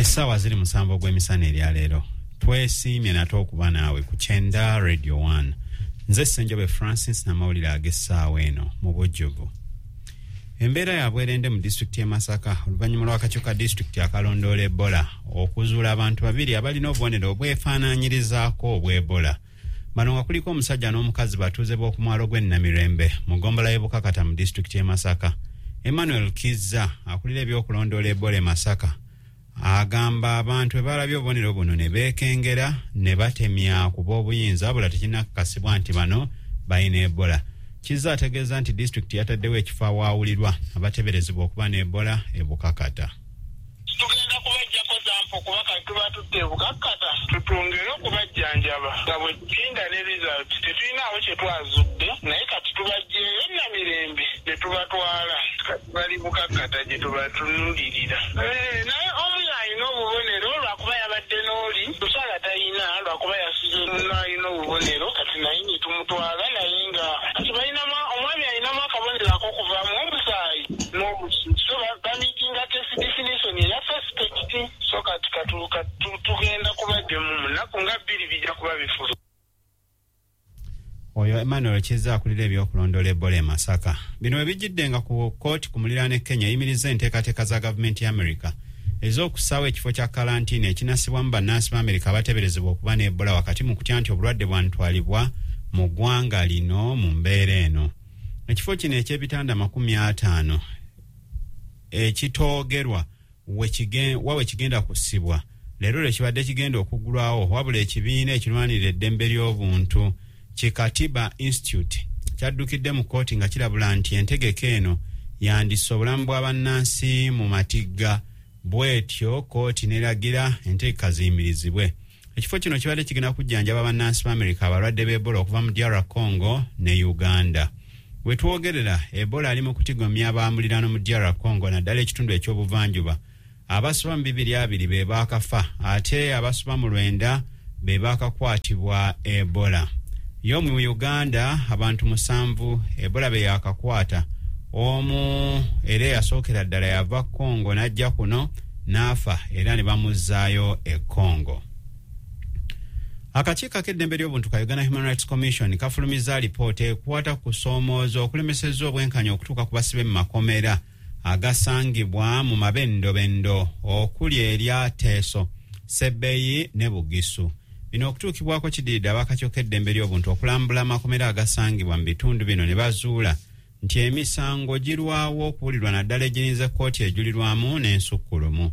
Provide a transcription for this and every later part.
Essaawa ziri 7 ogw'emisana eryaleero. Twesiimye nate okuba naawe ku Kyenda Radio 1. Nze Ssenjobe Francis n'amawulire ag'essaawa eno mu bujjuvu. Embeera ya bwerende mu disitulikiti y'e Masaka oluvannyuma lw'akakiiko ka disitulikiti akalondoola Ebola okuzuula abantu babiri abalina obubonero obwefaanaanyirizaako obw'Ebola. Bano nga kuliko omusajja n'omukazi batuuze b'okumwalo gw'e Namirembe mu ggombolola y'e Bukakata mu disitulikiti y'e Masaka. Emmanuel Kizza akulira ebyokulondoola Ebola e Masaka agamba abantu bwe balabye obubonero buno ne beekengera ne batemya ku b'obuyinza, wabula tekinnakakasibwa nti bano balina Ebola. Kizza ategeeza nti disitulikiti yataddewo ekifo awaawulirwa abateeberezebwa okuba ne Ebola e Bukakata. Tugenda kubaggyako sample kuba kati tuba tudde e Bukakata tutwongere okubajjanjaba nga bwe tulinda ne result. Tetulinaawo kye twazudde naye kati tubaggyeeyo Namirembe ne tubatwala. Kati bali Bukakata gye tubatunulirira. Naye omu y'alina obubonero lwakuba yabadde n'oli, mukyala talina lwakuba yasize n'alina obubonero kati naye ne tumutwala naye nga kati balinamu omwami alinamu akabonero ak'okuvaamu omusaayi n'obusu. So bamiitinga case definition eya suspect. So kati tugenda kubaddemu mu nnaku nga 2 bijja kuba bifulu. Oyo Emmanuel Kizza akulira ebyokulondoola Ebola e Masaka. Bino we bijjidde nga ku kkooti ku muliraano e Kenya eyimirizza enteekateeka za gavumenti ya Amerika ez'okussaawo ekifo kya kalantiini ekinassibwamu bannansi ba Amerika abateeberezebwa okuba ne Ebola wakati mu kutya nti obulwadde bwantwalibwa mu ggwanga lino mu mbeera eno. Ekifo kino eky'ebitanda 50 ekitoogerwa wa we kigenda kussibwa leero lwe kibadde kigenda okuggulwawo, wabula ekibiina ekirwanirira eddembe ly'obuntu ki Katiba Institute kyaddukidde mu kkooti nga kirabula nti entegeka eno yandissa obulamu bwa bannansi mu matigga, bw'etyo kkooti n'eragira entegeka ziyimirizibwe. Ekifo kino kibadde kigenda kujjanjaba bannansi ba Amerika abalwadde b'Ebola okuva mu DR Congo ne Uganda. We twogerera Ebola ali mu kutigomya abamuliraano mu DR Congo naddala ekitundu eky'obuvanjuba. Abasoba mu 220 be baakafa ate abasoba mu 90 be baakakwatibwa Ebola. Yo mu Uganda abantu 7 Ebola be yakakwata, omu era eyasookera ddala yava Congo n'ajja kuno n'afa era ne bamuzzaayo e Congo. Akakiiko ak'eddembe ly'obuntu ka Uganda Human Rights Commission kafulumizza alipoota ekwata ku kusoomooza okulemesezza obwenkanya okutuuka ku basibe mu makomera agasangibwa mu mabendobendo okuli erya Teeso, Sebbeyi ne Bugisu. Bino okutuukibwako kidiridde ab'akakiiko k'eddembe ly'obuntu okulambula amakomera agasangibwa mu bitundu bino ne bazuula nti emisango girwawo okuwulirwa naddala egirinze kkooti ejulirwamu n'ensukkulumu.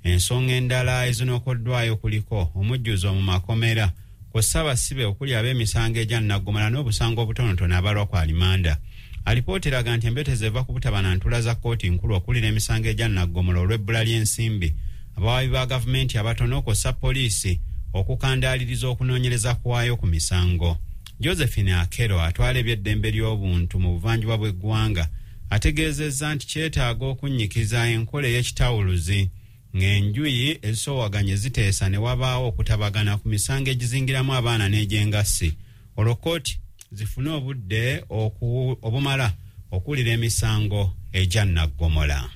Ensonga endala ezinokoddwayo kuliko omujjuzo mu makomera kw'ossa abasibe okuli ab'emisango egya nnaggomala n'obusango obutonotono abalwa ku alimanda. Alipoota eraga nti embetezi eva ku butaba na ntuula za kkooti nkulu okuwulira emisango egya nnaggomola olw'ebbula ly'ensimbi, abawaabi ba gavumenti abatono kw'ossa poliisi okukandaaliriza okunoonyereza kwayo ku misango. Josephine Akero atwala eby'eddembe ly'obuntu mu buvanjuba bw'eggwanga ategeezezza nti kyetaaga okunnyikiza enkola ey'ekitawuluzi ng'enjuyi ezisoowaganye ziteesa ne wabaawo okutabagana ku misango egizingiramu abaana n'egyengassi, olwo kkooti zifune obudde obumala okuwulira emisango egya nnaggomola.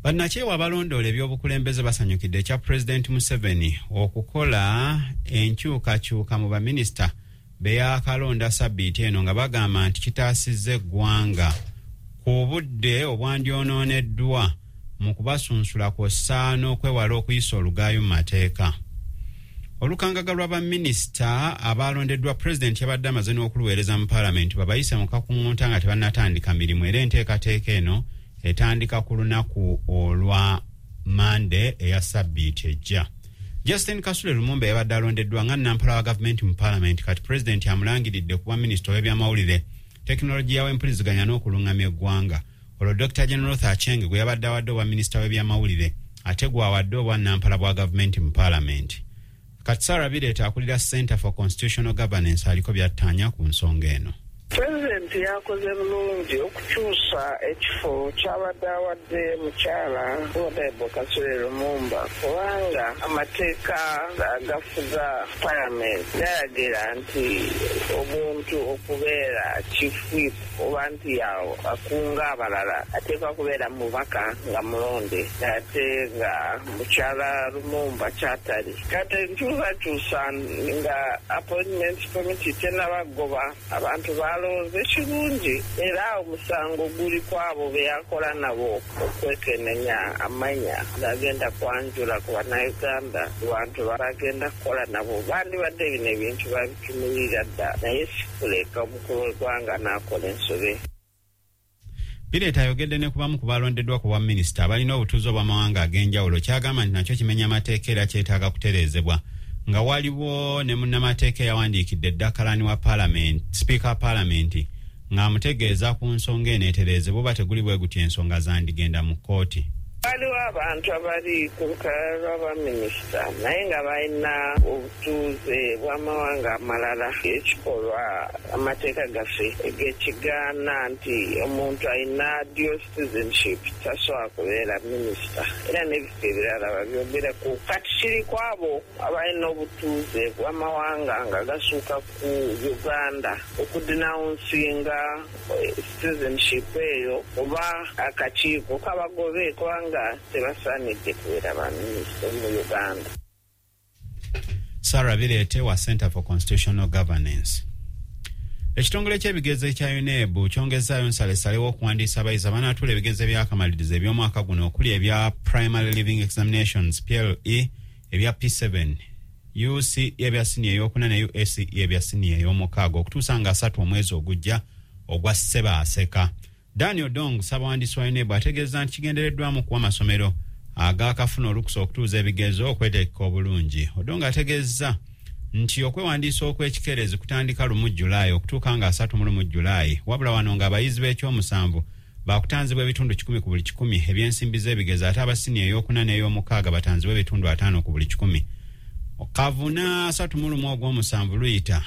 Bannakyewa abalondoola ebyobukulembeze basanyukidde ekya Pulezidenti Museveni okukola enkyukakyuka mu baminisita be yaakalonda sabbiiti eno nga bagamba nti kitaasizza eggwanga ku budde obwandyonooneddwa mu kubasunsula kw'ossa n'okwewala okuyisa olugaayo mu mateeka. Olukangaga lwa baminisita abalondeddwa pulezidenti yabadde amaze n'okuluweereza mu paalamenti babayise mu kakuŋŋunta nga tebannatandika mirimu, era enteekateeka eno etandika ku lunaku olwa Mande eya sabbiiti ejja. Justin Kasule Lumumba yabadde alondeddwa nga nnampala wa gavumenti mu paalamenti kati pulezidenti amulangiridde kuba minisita ow'ebyamawulire, tekinologiya w'empuliziganya n'okulungamya eggwanga. Olwo Dr. Jane Ruth Aceng gwe yabadde awadde obwa minisita w'ebyamawulire ate gw'awadde obwa nnampala bwa gavumenti mu paalamenti. Kati Sarah Bireeta akulira Center for Constitutional Governance aliko by'attaanya ku nsonga eno. Pulezidenti yakoze bulungi okukyusa ekifo kyabadde awadde mukyala Honorable Kasule Lumumba, kubanga amateeka agafuga Parliament galagira nti omuntu okubeera chief whip oba nti akunga abalala ateekwa kubeera mubaka nga mulonde, ate nga mukyala Lumumba kyatali. Kati nkyusakyusa nga appointment committee tennabagoba abantu balonze kirungi, era omusango guli kwabo be yakola nabo okwekenenya amanya gagenda kwanjula ku Bannayuganda ku bantu bagenda kukola nabo. Bandibadde bino ebintu babitunulira dda, naye sikuleka omukulu w'eggwanga n'akola ensobe. Bireeta ayogedde ne ku bamu ku balondeddwa ku bwa minisita abalina obutuuze obw'amawanga ag'enjawulo, kyagamba nti nakyo kimenya amateeka era kyetaaga kutereezebwa, nga waliwo ne munnamateeka eyawandiikidde dda kalani wa Parliament, sipiika wa Paalamenti, ng'amutegeeza ku nsonga eno etereezebwa oba teguli bwe gutyo ensonga zandigenda mu kkooti. Waliwo abantu abali ku lukalala lw'abaminisita naye nga balina obutuuze bw'amawanga amalala, ekikolwa amateeka gaffe gekigaana nti omuntu alina dual citizenship tasobola kubeera minisita, era n'ebifo ebirala babyogerako. Kati kiri ku abo abalina obutuuze bw'amawanga nga gasuuka ku Uganda okudenouncinga citizenship eyo oba akakiiko kabagobe, kubanga tebasaanidde kubeera baminisita mu Uganda. Sarah Bireete wa Center for Constitutional Governance. Ekitongole ky'ebigezo ekya UNEB kyongezaayo nsalesale w'okuwandiisa abayizi abanaatuula ebigezo ebyakamalirizo eby'omwaka guno, okuli ebya Primary Leaving Examinations, PLE, ebya P7, UCE ebya siniya ey'okuna ne UACE ebya siniya ey'omukaaga, okutuusa nga 30 omwezi ogujja ogwa Ssebaaseka. Daniel Dong, ssabawandiisi wa UNEB, ategeeza nti kigendereddwamu kuwa amasomero agakafuna olukusa okutuuza ebigezo okwetegeka obulungi. Odong ategeeza nti okwewandiisa okw'ekikeerezi kutandika 1 Julayi okutuuka nga 31 Julayi, wabula wano ng'abayizi b'ekyomusanvu bakutanzibwa ebitundu 100 ku buli 100 ebyensimbi z'ebigezo, ate aba siniya ey'okuna n'ey'omukaaga batanzibwa ebitundu 50 ku buli 100. Kavuna 31 ogw'omusanvu luyita,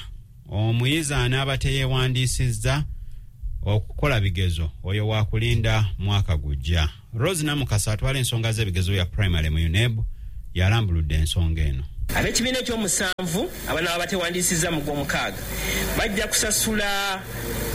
omuyizi anaaba teyeewandiisizza okukola bigezo oyo wakulinda mwaka gujja. Rose Namukasa atwala ensonga z'ebigezo bya primary mu UNEB yalambuludde ensonga eno. Ab'ekibiina ekyomusanvu abanaaba batewandiisizza mu gw'omukaaga bajja kusasula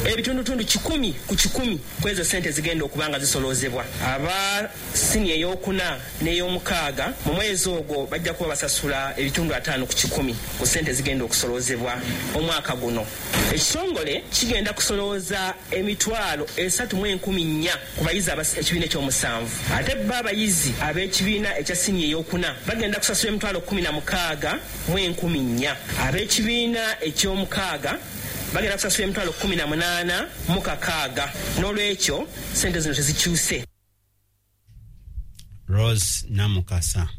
ebitundutundu 100 ku 100 ku ezo ssente zigenda okuba nga zisoloozebwa. Aba siniya ey'okuna n'ey'omukaaga mu mwezi ogwo bajja kuba basasula ebitundu 50 ku 100 ku ssente zigenda okusoloozebwa omwaka guno. Ekitongole kigenda kusolooza 304,000 ku bayizi ekibiina ekyomusanvu, ate bo abayizi ab'ekibiina ekya siniya ey'okuna bagenda kusasula 16,400. Ab'ekibiina eky'omukaaga bagenda kusasula 18,600. N'olwekyo sente zino tezikyuse. Rose Namukasa.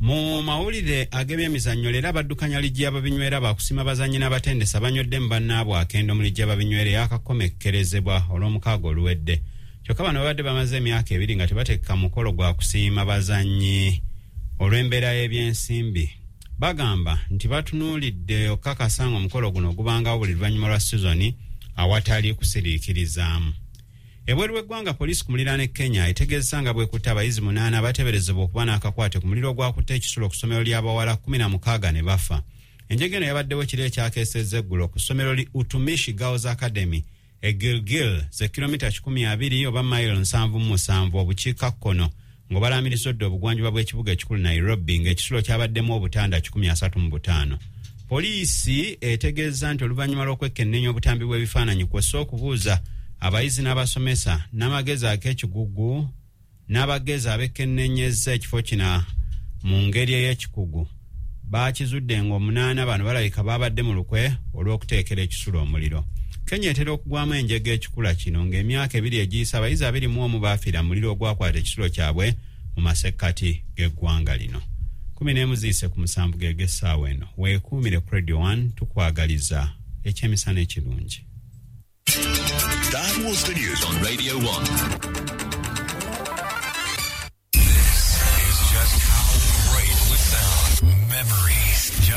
Mu mawulire ag'ebyemizannyo leero, abaddukanya liigi y'ababinywera bakusima bazannyi n'abatendesi abanywedde mu bannaabwe akendo mu liigi y'ababinywera eyakakomekkerezebwa olw'omukaaga oluwedde. Kyokka bano babadde bamaze emyaka 2 nga tebateeka mukolo gwa kusiima bazannyi olw'embeera y'ebyensimbi. Bagamba nti batunuulidde okukakasa nga omukolo guno gubangawo buli luvannyuma lwa sizoni awatali kusiriikirizaamu. Ebweru w'eggwanga, poliisi ku muliraano e Kenya etegeeza nga bwekutte abayizi 8 abateeberezebwa okuba n'akakwate ku muliro ogwakutte ekisulo ku ssomero ly'abawala 16 ne bafa. Enjega eno yabaddewo kiro ekyakeesezza eggulo ku ssomero li Utumishi Girls Academy e Gilgil, ze kilomita 120 oba mayiro 77 obukiikakkono ng'obalamiriza odda obugwanjuba bw'ekibuga ekikulu Nairobi, ng'ekisulo kyabaddemu obutanda 135. Poliisi etegeeza nti oluvannyuma lw'okwekkenneenya obutambi bw'ebifaananyi kw'ossa okubuuza abayizi n'abasomesa n'amagezi ak'ekigugu n'abagezi abekkennenyezza ekifo kino mu ngeri ey'ekikugu, bakizudde ng'omunaana bano balabika babadde mu lukwe olw'okuteekera ekisulo omuliro. Kenya etera okugwamu enjega ekikula kino, ng'emyaka 2 egiyise abayizi 21 baafiira mu muliro ogwakwata ekisulo kyabwe mu masekkati g'eggwanga lino. 6:46 geg'essaawa eno. Weekuumire ku Radio 1, tukwagaliza ekyemisana ekirungi. That was the news on Radio 1.